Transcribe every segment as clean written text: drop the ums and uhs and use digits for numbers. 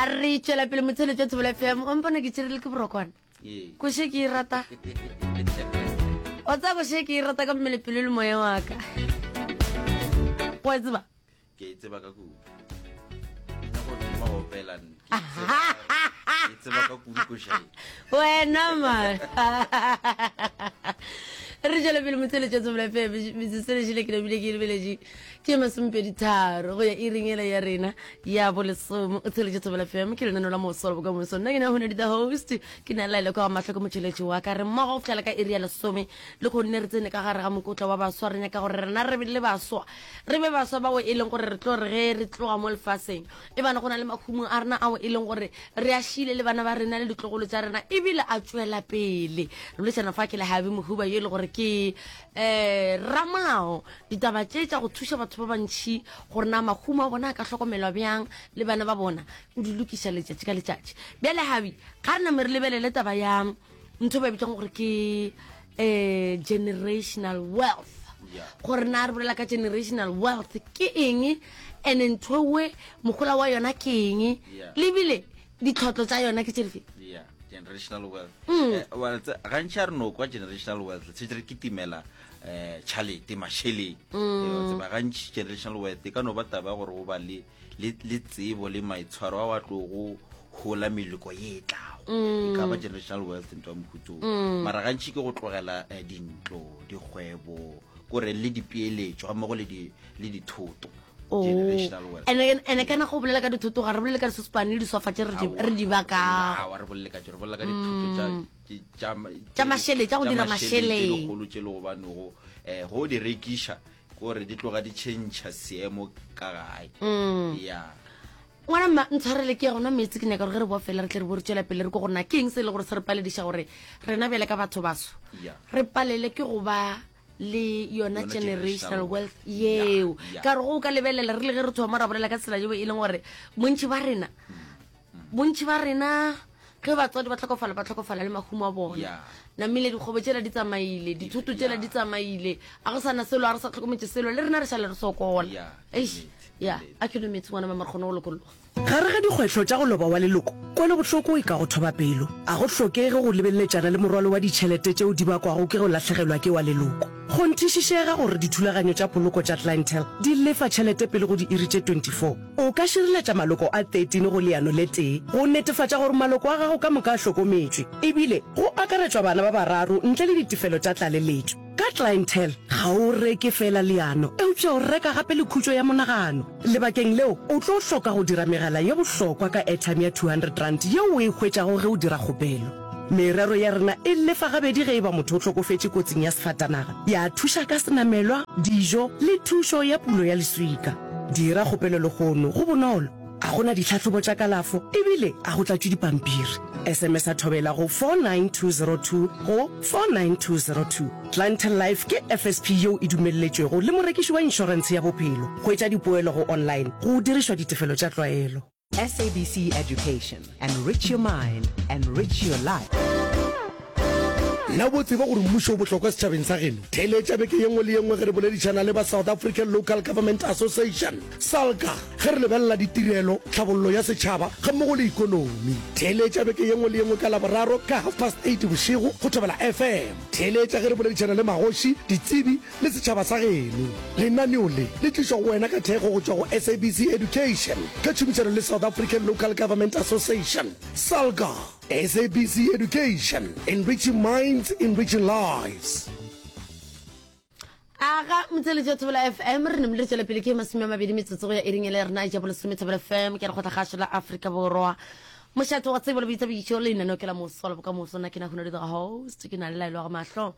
A re tšwela pele motheletšo Thobela FM. O mpona ke tšerile ke borokwana. Koše ke e rata. O tsaya koše ke e rata ka mmele pelo le moya wa ka. Wa e tseba? Ke e tseba ka kudu. Nna go thoma go opela nne. Ke e tseba- ke e tseba ka kudu koša e. Wena man. Re tšwela pele motheletšo Thobela FM. Metsotso e lešile ke nabile ke e lebeletše. Ke masomepeditharo go ya iring ela ya rena ya bolesome. O theletše Thobela FM, ke lenaneo la moso la bokamoso. Nna ke na Hunadi the host, ke na Laila kwa ga mahlo ke motšheletši wa ka. Re mmogo go fihlela ka iri ya lesome le kgonne re tsene ka gare ga mokotla wa baswa. Re nyaka gore rena re le baswa, re be baswa bao e leng gore re tlo re ge re tloga mo lefaseng e bane go na le mahumo a rena ao e leng gore re a šile le bana ba rena le ditlogolo tša rena ebile a tšwela pele. Re boledišana fa ke le Habi Mohuba yo e le gore ke um ramolao ditaba tše tša go thuša batho ba bantšhi gore na mahumo a bona a ka hlokomelwa bjang le bana ba bona o di lokiša letšatši ka letšatši bjale habi ga re name re lebelele taba ya ntho ba e bitsang gore ke um generational wealth gore na re bolela ka generational wealth ke eng and ntho ewe mogola wa yona ke eng lebile ditlhotlo tša yona ke tše dife yeah generational wealth mm. eh, well gantši a re no kwa generational wealth se re kitimela eh tšhalete mašeleng mm. eh, tseba gantši generational wealth e ka no ba taba ya gore o ba le le tsebo le maitshwaro a wa tlogo hola meloko ye e tlago mm. e ka ba generational wealth ntho ya mohuto mm. mara gantši ke go tlogela eh, dintlo dikgwebo kore le dipeeletšo gammogo le dithoto Oh. Ene ene kana go bolela ka dithoto ga re bolele ka disospane le disofa tše re di bakago. Re bolele ka tše re bolela ka dithoto tša mm. tša tša mašeleng tša go dira mašeleng. Dikgolo tše le gobane go eh go di rekiša gore di tloga di change seemo ka gae. Mm. Yeah. Ngwana mma ntshwarele ke ya gona meetse ke nyaka gore ge re boa fela re tle re bo re tšwela pele re ko gore na ke eng se e le gore se re palediša gore rena bjale ka batho baso re palele ke go ba le yona generational wealth yeo ka gore go ka lebelela re le ge re thoma ra bolela ka tsela yeo e leng gore bontši ba rena mm. bontši ba rena ge batswadi ba tlhokofala ba tlhokofala le mahumo a bona namile dikgobo tsela di tsamaile dithoto tsela di tsamaile a go sana selo a re sa tlhokometse selo le rena re šale re sokola eish ya a ke no metse ngwana mama re kgone go lokologa Gare ga dikgwetlho tša go loba wa leloko, kwelobohloko e ka go thoba pelo. A go hlokege go lebeletšana le morwalo wa ditšhelete tšeo di bakwago ke go lahlegelwa ke wa leloko. Kgonthišišega gore dithulaganyo tša poloko tša Clientele di lefa tšhelete pele go diiri tše 24. O ka šireletša maloko a 13 go leano le tee go netefatša gore maloko a gago ka moka a hlokometšwe, ebile go akaretšwa bana ba bararo ntle le ditefelo tša tlaleletšo. Ka Clientele, ga o reke feela leano, eupša o reka gape le khutšo ya monagano. Lebakeng leo, o tlo hloka go dira megala ye bohlokwa ka airtime ya R200 yeo o e hwetšago ge o dira kgopelo. Merero ya rena e lefa gabedi ge e ba motho o hlokofetše kotsing ya sefatanaga, ya thuša ka senamelwa, dijo le thušo ya pulo ya leswika. Dira kgopelo lehono, go bonolo, ga go na ditlhahlobo tša kalafo ebile ga go tlatšwe dipampiri. SMS-a Thobela go 49202 go 49202. Clientele Life ke FSP yeo e dumelletšwego le morekiši wa inšorentshe ya bophelo. Hwetša dipoelo go online go dirišwa ditefelo tša tlwaelo. SABC Education, enrich your mind, enrich your life. Na bo tseba gore mmušo o bohlokwa setšhabeng sa geno? Theeletša beke ye nngwe le ye nngwe ge re boledišana le ba South African Local Government Association, SALGA, ge re lebelela ditirelo, tlhabollo ya setšhaba gammogo le ikonomi. Theeletša beke ye nngwe le ye nngwe ka Laboraro ka half past eight bošego go Thobela FM. Theeletša ge re boledišana le magoši, ditsebi le setšhaba sa geno. Lenaneo le le tlišwa go wena ka thekgo go tšwa go SABC Education ka tšhomišano le South African Local Government Association, SALGA. SABC Education, enriching minds, enriching lives. Aga motseletši wa Thobela FM re namile re tšwela pele ke 20 metsotso go ya iring ele rena ja bolesome Thobela FM ke lekgotla kgašo la Afrika Borwa mošate wa tsebo le boithabišo lenaneo ke la moso la bokamoso nna ke na Hunadi the host ke na le laelo wa ga mahlo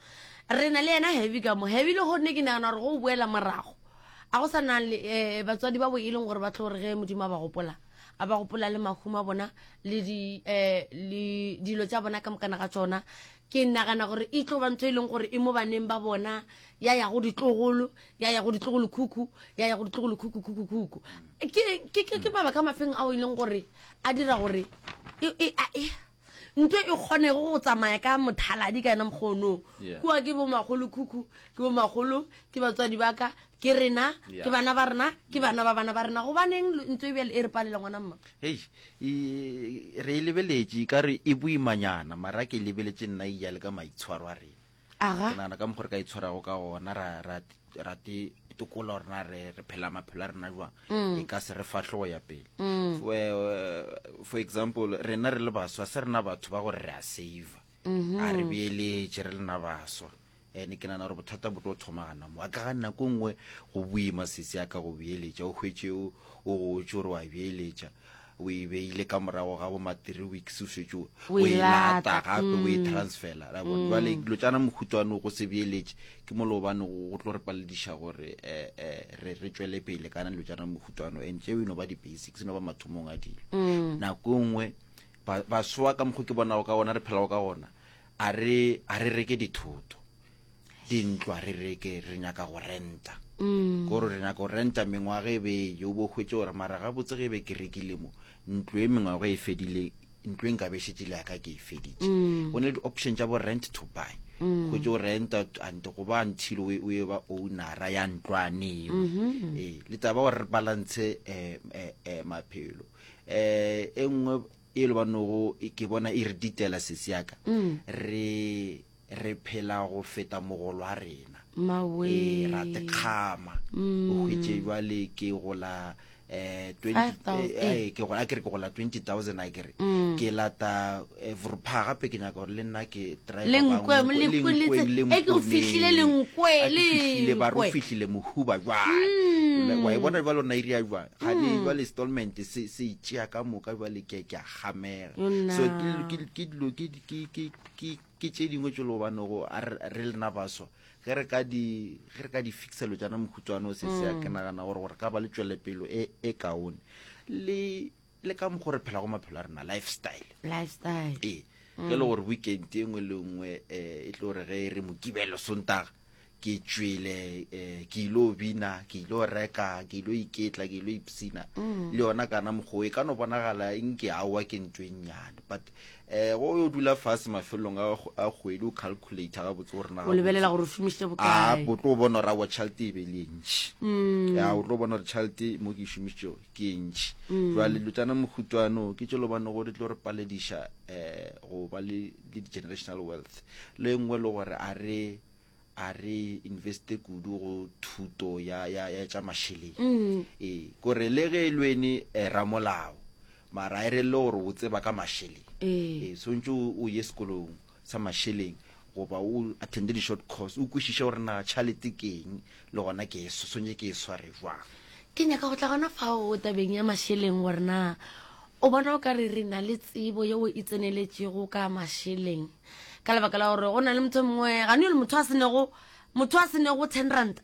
re na le yena heavy ka mo heavy le gonne ke nagana gore go boela morago a go sa na le eh, batswadi ba bo e leng gore ba tlo gore ge modimo a ba gopola a ba gopola le mahumo a bona le di eh, le dilo tša bona ka mokana ga tšona Ke nagana gore e tlo ba ntho e leng gore e mo baneng ba bona, ya ya go ditlogolo, ya ya go ditlogolokhukhu, ya ya go ditlogolokhukhu-khukhu-khukhu. Ke, ke, ke, ke mabaka a mafeng ao e leng gore a dira gore e, e, a, e, ntho e kgonego go tsamaya ka mothaladi ka yona mokgonong. Yeah. Kua ke bomakgolokhukhu, ke bomakgolo, ke batswadi ba ka. Ke rena, ke bana ba rena, ke bana ba bana ba rena. Gobaneng ntho e bjale e re palela ngwana mma? Hei, re e lebeletše, e ka re e boimanyana, mara ke e lebeletše nna e ya le ka maitshwaro a rena. Aga. Ke nagana ka mokgwa re ka itshwarago ka gona, ra, ra, ra te tokola gore na re, re phela maphelo a rena jwang, e ka se re fahle go ya pele. For, eh, for example, rena re le baswa, se rena batho ba gore re a saver. A re beeletše re le na baswa. Ene ke nagana gore bothata bo tlo thoma gana mo. A ka ga nako nngwe go boima sesi ya ka go beeletša, o hwetše o o gotše gore wa beeletša, o e beile ka morago ga bo ma 3 weeks o šetše o O e e lata lata, gape o e transfera. La bona? Jwale dilo tša na mohuta go se beeletše ke mo le gobane go tlo re palediša gore eh, eh, re re tšwele pele kana dilo tša na mohuta and tšeo e no ba di-basics, e no ba mathomong a dilo. Nako e nngwe ba baswa ka mokgwa ke bonago ka gona re phelago ka gona a re a re reke dithoto dintlo a re reke re nyaka go renta mm. kore re nyaka go renta mengwaga e beye o bo hwetše gore mara gabotse ge e be ke rekile mo ntlo e mengwaga e fedile ntlo e nka be šetše le yaka ke e feditše mm. go ne le di-option tša bo rent to buy mm. hwetše o renta and go ba until o e ba ownera ya ntlwaneo mm-hmm. ee le taba gore re balance um maphelo um e nngwe e le banogo ke bona e re ditela sesi ya ka mm. re re phela go feta mogolo wa rena ee ra tekgama mm. o hwetše jwale ke gola eh 20 eh, eh ke gola ke re ke gola 20000 a ke re mm. ke lata eh, vrupha gape ke nyaka gore le nna ke drive lenkwe le e ke go fihlile lenkwe le fihlile ba re fihlile mohuba jwale mm. wa e bona jwale ona iria jwang ga ne mm. jwale installment se se itšea ka moka jwale ke ke a gamega so ke ke dilo ke ke ke ke ke tše dingwe tše le gobane go re lena baswa ge re ka di ge re ka di fixelo tšana mokhutshwane o se se ke mm. nagana gore gore ka ba le tšwelepelo e e kaone le le ka mokgwa re phela go maphelo a rena lifestyle lifestyle ee ge le gore weekend e nngwe le nngwe um e tlo re ge re mokibelo sontaga ke tšwele um ke ilo bina ke ilo reka ke ilo iketla ke ilo ipsina mm. le yona kana mokgwa e ka no bonagala nke aowa ke ntho e nnyane but um go yo dula fase mafelelong a kgwedi o calculate gabotse gore o lebelela gore o šomišitše bokae o tlo bona gore aowa tšhelete e be le e ntši mm. ya o tlo bona gore tšhelete mo ke e šomišitšego ke e ntši mm. jwale dilo tšana mokhutwano ke tše lobane gore tlo re palediša um go ba le di-generational wealth le nngwe le gore a re a re investe kudu go thuto ya, ya, ya tša mašeleng mm. ee kore le ge e lwene eh, ramolao mara e re le gore o tseba ka mašeleng ee eh, swantse o ye sekolong sa mašeleng goba o attende di-short course o kwešiše gore na tšhalete ke eng le gona ke e swantse ke e sware jwang ke nyaka go tla gona fao tabeng ya mašeleng gore na o bona o ka re re na le tsebo yeo e tseneletšego ka mašeleng ka lebaka la gore go na le motho mongwe gane le motho a senego motho a senego ten rand.